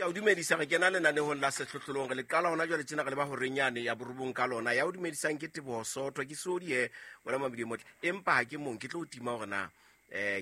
Ke a o dumedisa, re kena lenanehong la Sehlohlolong. Re le qala hona jwale tjena, re leba horeng yane ya borobong ka lona. Ya o dumedisang ke Teboho Soto, ke sodi he wena Mamedi e motle. Empa ha ke mong, ke tlo o tima hore na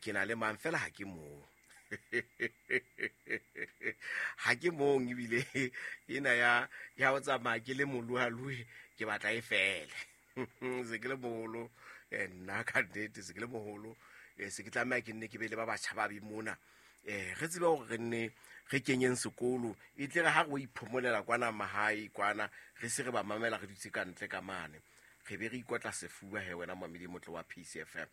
ke na le mang, fela ha ke mong. Ha ke mong, ebile ena ya ho tsamaya ke le moloaloe, ke batla e fele. Se ke le moholo, nna ka nnete se ke le moholo, se ke tlameha ke nne ke be le ba batjha ba be mona. Re tsebe hore re nne re kenyeng sekolo, e tle re ha re o iphomolela kwana mahae kwana, re se re ba mamela re dutse ka ntle ka mane, re be re ikotla sefuba he wena Mamedi motle wa PCFM.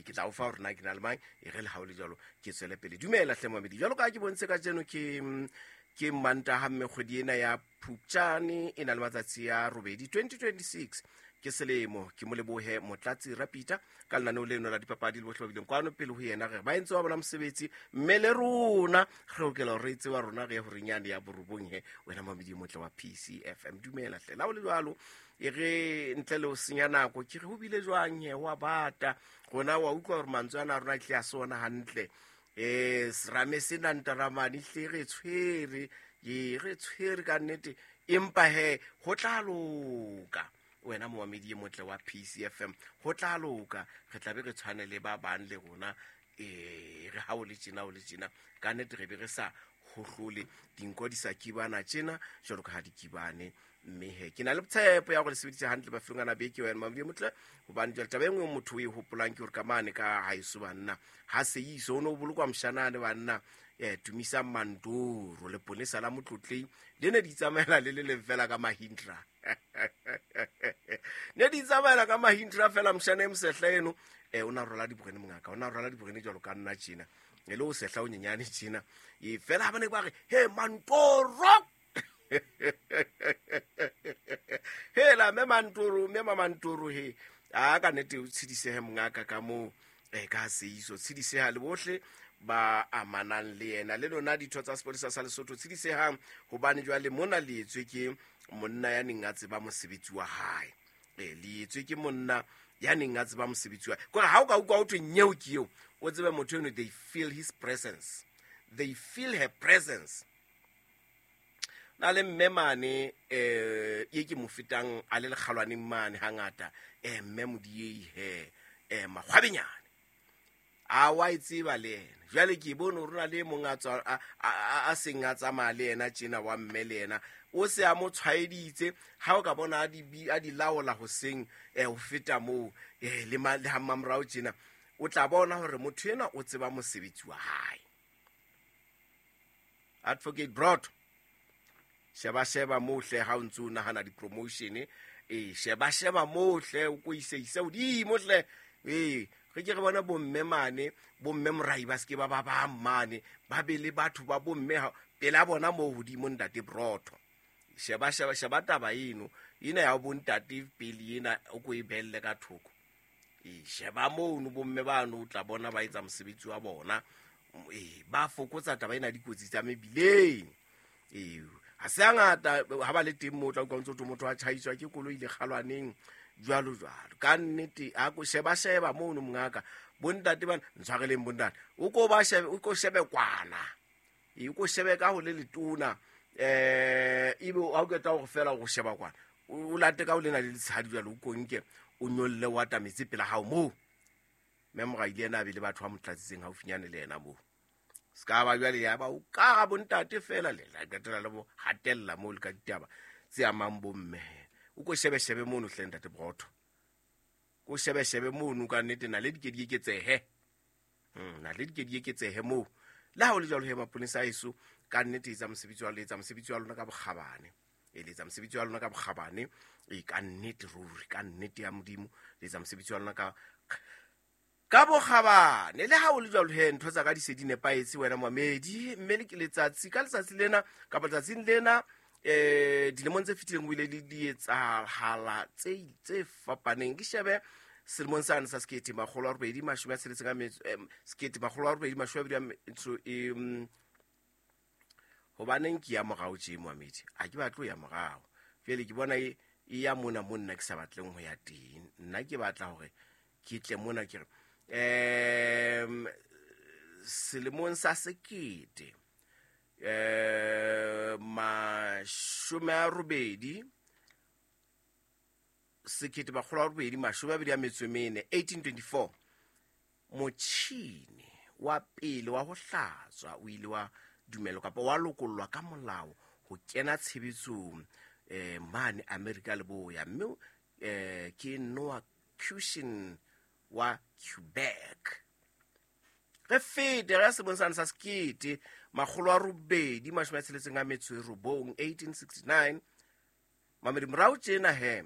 Ke tla o fa hore na ke na le mang, e re le ha o le jwalo ke tswele pele. Dumela hle Mamedi, jwalo ka ha ke bontshe kajeno ke Mantaha, mme kgwedi ena ya Phupjane e na le matsatsi a 8, 2026 ke selemo. Ke mo lebohe Motlatsi Rapita ka lenaneo leno la dipapadi le bohle ba bileng kwano pele ho yena, re ba entse wa bona mosebetsi, mme le rona re lokela hore re tseba rona re ye horeng yane ya borobong he wena Mamedi motle wa PCFM. Dumela hle, la o le jwalo, e re ntle le ho senya nako, ke re ho bile jwang he, wa bata rona, wa utlwa hore mantswe ana a rona tle a se ona hantle. Serame sena ntaramane hle re tshwere, ee re tshwere ka nnete, empa he ho tla loka wena momamedi e motle wa PCFM, ho tla loka, re tla be re tshwane le ba bang le rona. Re ha o le tjena, o le tjena ka nnete, re be re sa hohlole dinko di sa kibana tjena jwalo ka ha di kibane. Mme he ke na le tshepo ya gore le sebeditse hantle mafelong ana beke wena Mamedi e motle, hobane jwale taba e nngwe motho o e hopolang ke hore ka mane ka haeso banna ha seiso o ne o bolokwa moshanane banna, Tumisang Mantoro leponesa la Motlotlei le ne di tsamaela le le leng fela ka Mahindra, ne di tsamaela ka Mahindra fela. Moshana e mosehla eno, o na rwala diborene mongaka, o na rwala diborene jwalo ka nna tjena, e le o sehla o nyenyane tjena, e fela ha ba ne ba re he Mantoro, hela mme Mantoro, mme Mamantoro he a ka nnete o tshedisehe mongaka ka moo, ka seiso tshediseha le bohle ba amanang le yena, le lona ditho tsa sepolesa sa Lesotho tshedisehang, hobane jwale mona le etswe ke monna ya neng a tseba mosebetsi wa hae. Le etswe ke monna ya neng a tseba mosebetsi wa kore ha o ka utlwa ho thwe nyeo ke eo, o tsebe motho eno, they feel his presence, they feel her presence. Na le mme mane, ye ke mo fetang a le lekgalwaneng mane hangata, mme Modiei he, Makgwabenyane a wa e tseba le yena. Jwale ke bone hore na le mong a tswa a seng a tsamaya le yena tjena wa mme, le yena o se a mo tshwaeditse. Ha o ka bona a di laola hoseng, ho feta moo, le le ha mmamorao tjena, o tla bona hore motho enwa o tseba mosebetsi wa hae. Advocate Broad, sheba sheba moo hle, ha o ntse o nahana di-promotion, sheba sheba moo hle, o ko ise ise hodimo hle. Re ke re bona bomme mane, bomme morai ba seke ba ba bang mane, ba be le batho ba bomme pela bona moo hodimo. Ntate Brotho, sheba sheba sheba taba eno ena ya bontate pele ena, o ko e belle ka thoko. Sheba mono bomme bano, o tla bona ba etsa mosebetsi wa bona, ba fokotsa taba ena dikotsi tsa mebileng. Ha se hangata ha ba le teng moo, o tla utlwa ntse o motho a tjhaiswa ke koloi le kgalwaneng jwalo jwalo. Ka nnete a ko sheba sheba mono mongaka, bontate bana ntshwareleng, bontate o ko ba shebe, o ko shebe kwana, o ko shebe ka ho le letona, ebe ha o qeta hore fela o sheba kwana, o late ka ho lena le letshadi jwalo, o konke o nyolle o atametse pela hao moo. Mme moraile ena a be le batho ba mo tlatsitseng haufinyane le yena moo, se ka ba jwale ya ba o ka ga bontate fela le la qetela le bo hatella moo le ka ditaba tse amang bomme. O ko shebe shebe mono hle ntate Brotho, ko shebe shebe mono ka nnete, na le di ke di eketsehe, na le di ke di eketsehe moo. Le ha o le jwalo he, maponesa a eso ka nnete etsa mosebetsi wa le etsa mosebetsi wa lona ka bokgabane, e le etsa mosebetsi wa lona ka bokgabane, e ka nnete ruri, ka nnete ya Modimo le etsa mosebetsi wa lona ka bokgabane. Le ha o le jwalo he, ntho tsa ka di se di nepahetse wena Mamedi, mme le ke letsatsi ka letsatsi lena kapa letsatsing lena, dilemong tse fetileng o ile le di etsahala tse fapaneng. Ke shebe selemong sane sa 1865 1880 metso e, hobaneng ke ya morao tje Moamedi, a ke batle ho ya morao jwale, ke bona e ya mona mo nna ke sa batleng ho ya teng. Nna ke batla hore ke tle mona, ke re selemong sa sekete 80 1824, 1824, motšhini wa pele wa ho hlatswa o ile wa dumelwa kapa wa lokollwa ka molao ho kena tshebetsong mane Amerika Leboya, mme ke Noah Cushin wa Quebec. Re fete re ya selemong sane sa 1869, 1869. Mamedi morao tjena he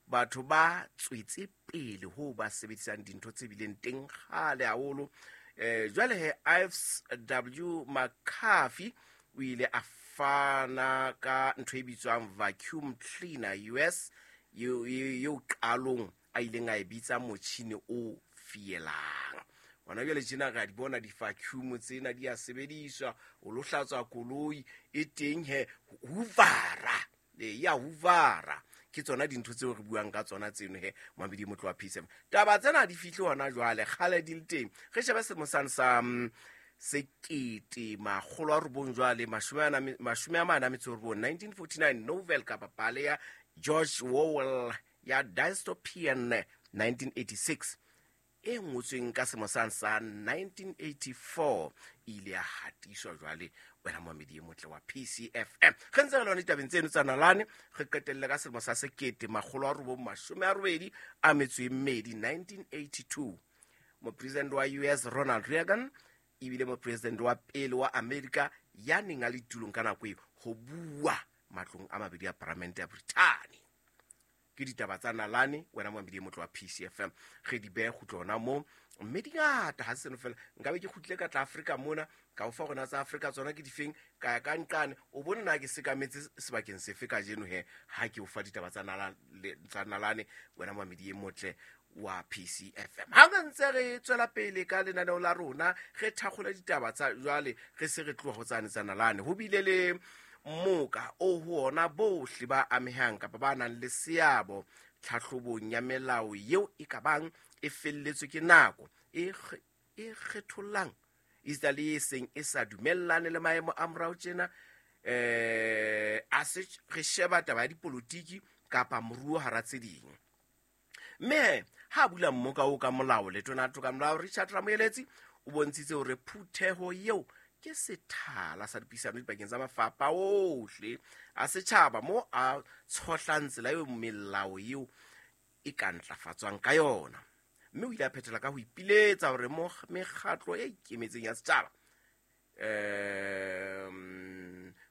batho ba tswetse pele ho ba sebedisang dintho tse bileng teng kgale haholo. Jwale he Ives W. McCarthy o ile a fana ka ntho e bitswang vacuum cleaner US, eo qalong a ileng a e bitsa motjhini o fielang. Hona jwale tjena re a di bona di-vacuum tsena di a sebediswa, o lo hlatswa koloi e teng he, hoovera, ya hoovera. Ke tsona dintho tseo re buang ka tsona tseno he, Mamedi motlo wa P7. Taba tsena di fihle hona jwale, kgale di le teng. Re shebe selemo sane sa 1949 jwale, 49, 1949, novel kapa pale ya George Orwell ya dystopian 1986 e ngotsweng ka selemo sane sa 1984 e ile ya hatiswa jwale wena Mamedi e motle wa PCFM. Re ntse re lona ditabeng tseno tsa nalane, re qetelle ka selemo sa 1982, 1982. Mopresidente wa US Ronald Reagan ebile mopresidente wa pele wa Amerika ya neng a le tulong ka nako eo ho bua matlong a mabedi a paramente ya Brithani. Ke ditaba tsa nalane wena Mamedi e motle wa PCFM, re di behe kgutlo hona moo, mme di ngata ha se seno fela. Nkabe ke kgutlile ka tla Afrika mona, ka o fa rona tsa Afrika tsona ke difeng, ka ya ka nqane, o bone na ke sekametse sebakeng sefe kajeno he ha ke o fa ditaba tsa nalane wena Mamedi e motle wa PCFM. Ha re ntse re tswela pele ka lenaneo la rona, re thakgola ditaba tsa jwale, re se re tloha ho tsane tsa nalane. Ho bile le moka o ho ona bohle ba amehang kapa ba nang le seabo tlhahlobong ya melao eo e ka bang e felletswe ke nako e kgethollang esita le e seng e sa dumellane le maemo a morao tjena. A se re sheba taba ya dipolotiki kapa moruo hara tse ding. Mme ha bula mmoka o ka molao, letona toka molao Richard Ramoeletsi o bontshitse hore phutheho eo ke sethala sa dipuisano dipakeng tsa mafapha ohle a setjhaba mo a tshohlang tsela eo melao eo e ka ntlafatswang ka yona. Mme o ile a phethela ka ho ipiletsa hore mekgatlo e ikemetseng ya setjhaba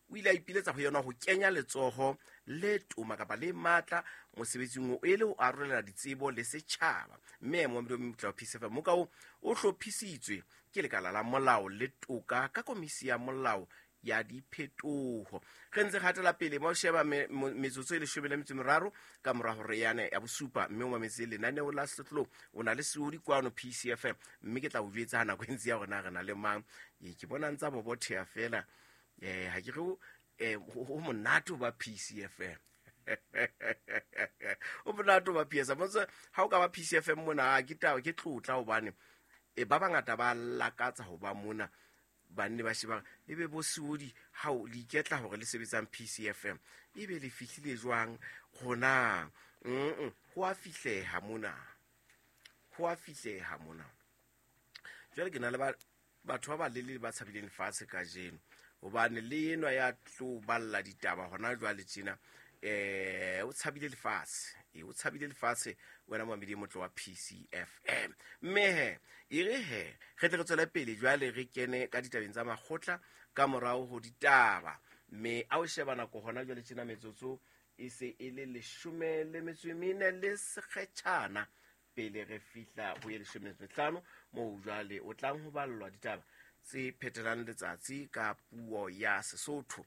o ile a ipiletsa ho yona ho kenya letsoho le toma kapa le matla mosebetsing o e le ho arolela ditsebo le setjhaba. Mme Mohamed PCFM moka o hlophisitswe ke lekala la molao le toka ka komisi ya molao ya diphetoho. Re ntse re hatela pele mo sheba metsotso e 13 ka mora hore yane ya bosupa, mme o mametse lenaneo la Sehlohlolong. O na le seodi kwano PCFM, mme ke tla o jwetsa ha nako e ntse ya rona re na le mang. Ke bona ntsa bobotheha fela. Ha ke re ho monate ho ba PCFM. O monate ho ba PCFM. Motse ha o ka ba PCFM mona, ke taba ke tlotla hobane ba bangata ba lakatsa ho ba mona. Banne ba sheba ebe bo seodi ha o le iketla hore le sebetsang PCFM, ebe le fihlile jwang rona? Ho a fihleha mona, ho a fihleha mona. Jwale ke na le batho ba balelele ba tshabileng lefatshe kajeno, hobane le enwa ya tlo balla ditaba hona jwale tjena, o tshabile lefatshe, o tshabile lefatshe wena Mamedi e motle wa PCFM. Mme he e re he re tle re tswele pele jwale re kene ka ditabeng tsa makgotla ka morao ho ditaba. Mme a o sheba nako hona jwale tjena, metsotso e se e le 14 le sekgetjhana pele re fihla ho ye 15, moo jwale o tlang ho ballwa ditaba tse phetelang letsatsi ka puo ya Sesotho.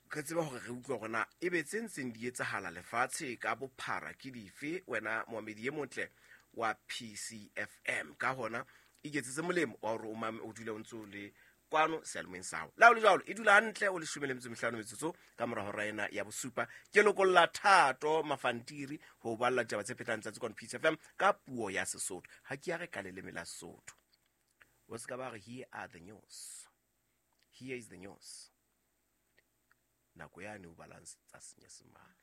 Re tseba hore re utlwa hore na ebe tse ntseng di etsahala lefatshe ka bophara ke dife, wena Moamedi e motle wa PCFM. Ka hona iketsetse molemo wa hore o dule o ntse o le kwano seyalemoyeng sa hao. Le ha ho le jwalo, e dula hantle o 15 metsotso ka mora hora ena ya bosupa. Ke lokolla Thato Mafantiri ho balla ditaba tse phetang tsatsi kwano PCFM ka puo ya Sesotho. Ha ke ya re ka leleme la Sesotho. O ska ba re here are the news. Here is the news. Nako yane o balang tsa Senyesemane.